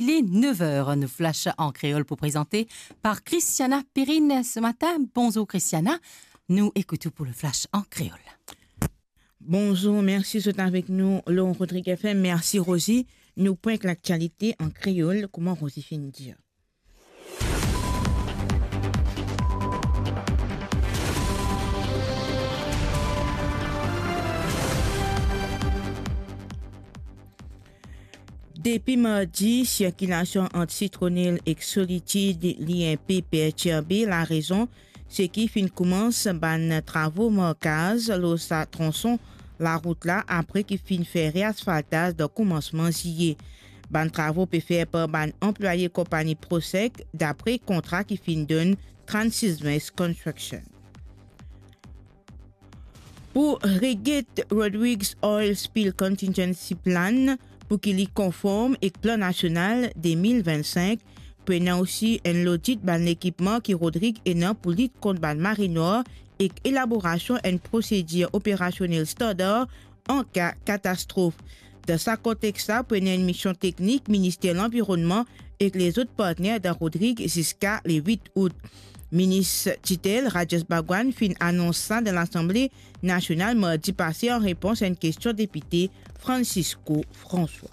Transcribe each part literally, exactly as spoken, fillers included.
Il est neuf heures, nou flash an kreol pou prezante par Christiana Perrine ce matin. Bonzour Christiana, nou ekout ou pou le flash an kreol. Bonzour, mersi zot avek nou lor Rodrig F M. Mersi Rosie. Nou pran laktialite an kreol, kouma Rosie finn dir. Depi mardi, sirkilasion ant Sitronel ek Solitid li inpe pertirbe. Larezon, seki finn koumans bann travo markaz lor sa transon larout la, apre ki finn fer reasfaltaz dan koumansman ziye. Bann travo pe fer par bann anplwaye konpagni Prosec, dapre kontra ki finn donn Transismais Construction. Pou reget Rodrigues Oil Spill Contingency Plan, pou ki li konform ek plan nasional de mil vinn-sink, pou ena osi enn lodit bann lekipman ki Rodrig ena pou lit kont bann mare nwar ek elaborasion enn prosedir operasionel standar an ka katastrof. Dan sa kontex la, pou ena enn mision teknik Minister Lanvironnman ek lezot partner dan Rodrig ziska le wit out. Minis titel Rajesh Bhagwan finn anons sa dan Lasanble Nasional mardi pase an repons a enn kestion depite Francisco François.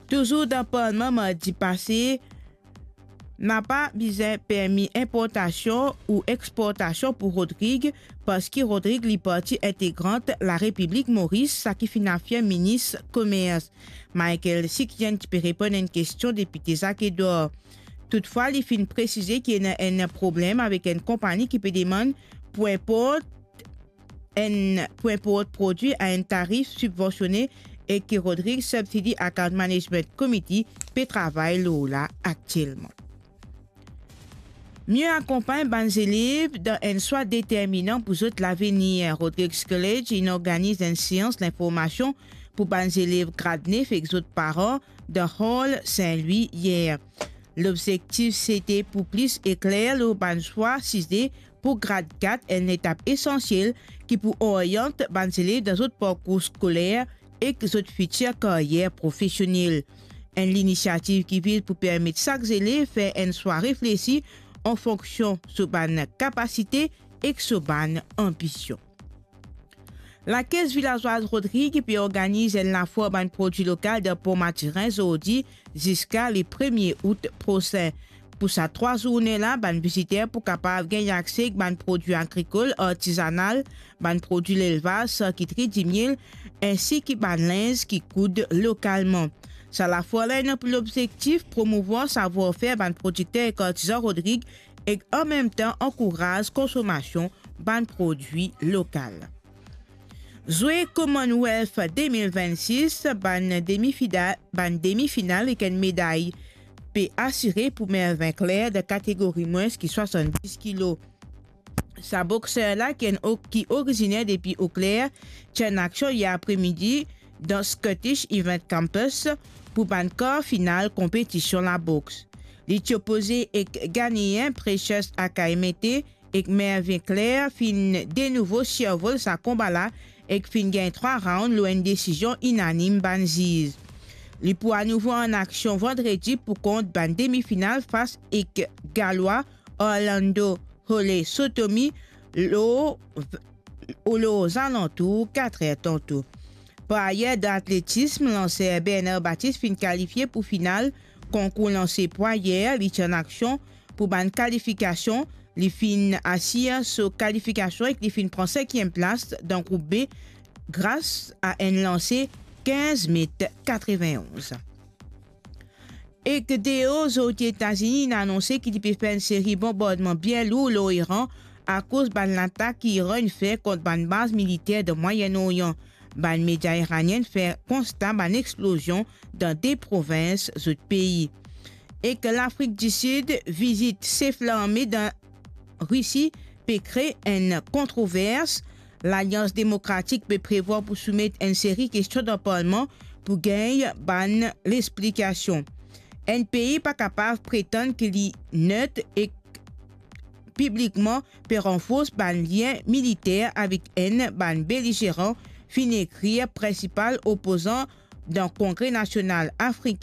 Touzour dan Parlman mardi pase, napa bizin permi inportasion ou exportasion pou Rodrig, parski Rodrig li parti integrant Larepiblik Moris, sa ki finn afirm minis komers Michael Sikyen, ki pe reponn enn kestion depite Zak Edwar. Toutfwa, li finn presize ki ena enn problem avek enn konpagni ki pe demann pou inport enn, pou inport prodwi a enn tarif sibvansione e ki Rodrig Subsidy Account Management Committee pe travay lor la aktielman. Mie akonpagn bann zelev dan enn swa determinan pou zot lavenir. Rodrigues College inn organiz enn seans linformasion pou bann zelev grad nef ek zot paran dan Hall Saint-Louis yer. Lobzektif sete pou plis ekler lor bann swa size pou grad kat, enn etap esansiel ki pou oriant bann zelev dan zot parkour skoler ek zot fitir karyer profesionel. Enn linisiativ ki viz pou permet sak zelev fer enn swa reflesi an fonksion so bann kapasite ek so bann anbision. Lakes Vilazwaz Rodrig pe organiz enn lafwar bann prodwi lokal dan Pont Mathurin zordi ziska le premie out prosin. Pou sa trwa zourne la, bann viziter pou kapav gagn akse ek bann prodwi agrikol, artizanal, bann prodwi lelvaz, sarkitri, dimiel, ensi ki bann linz ki koud lokalman. Sa lafwar la ena pou lobzektif promouvwar savwar-fer bann prodikter ek artizan Rodrig ek anmemtan ankouraz konsomasion bann prodwi lokal. Zwe Commonwealth de mil vennsis, bann demi-fida-, bann demi-final ek enn meday pe asire pou Mervin Claire dan kategori mwins ki swasanndis kilo. Sa bokser la, ki enn o-, ki oriziner depi Eau Claire, ti enn aksion yer apremidi dan Scottish Event Campus pou bann kar final konpetision laboks. Li ti opoze ek Ghanéen Precious Akaemete, ek Mervin Claire finn de nouvo sirvol sa konba la ek finn gagn trwa round lor enn desizion inanim bann ziz. Li pou anouvo an aksion vandredi pou kont bann demi-final fas ek Galwa Orlando Hole Sotomi lor, lor zalantour kat er tanto. Par ayer, dan atletism, lanser Bernard Baptiste finn kalifie pou final konkour lanse pwa yer. Li ti an aksion pou bann kalifikasion, li finn asir so kalifikasion ek li finn pran senkiem plas dan group B gras a enn lanse kinz met katreven-onz. Ek deor, zordi Etazini inn anonse ki li pe fer enn seri bonbardman bien lour lor Iran akoz bann latak ki Iran inn fer kont bann baz militer dan Mwayen Oryan. Bann media iranien fer konsta bann explozion dan de provins zot pei. Ek Lafrik di Sid, vizit sef larme dan Risi pe kre enn kontrovers. Lalians Demokratik pe prevwar pou soumet enn seri kestion dan parlman pou gagn bann lexplikasion. Enn pei pa kapav pretann ki li net ek piblikman pe ranfors bann lien militer avek enn bann belizeran, finn ekrir prinsipal opozan dan Kongre Nasional Afrik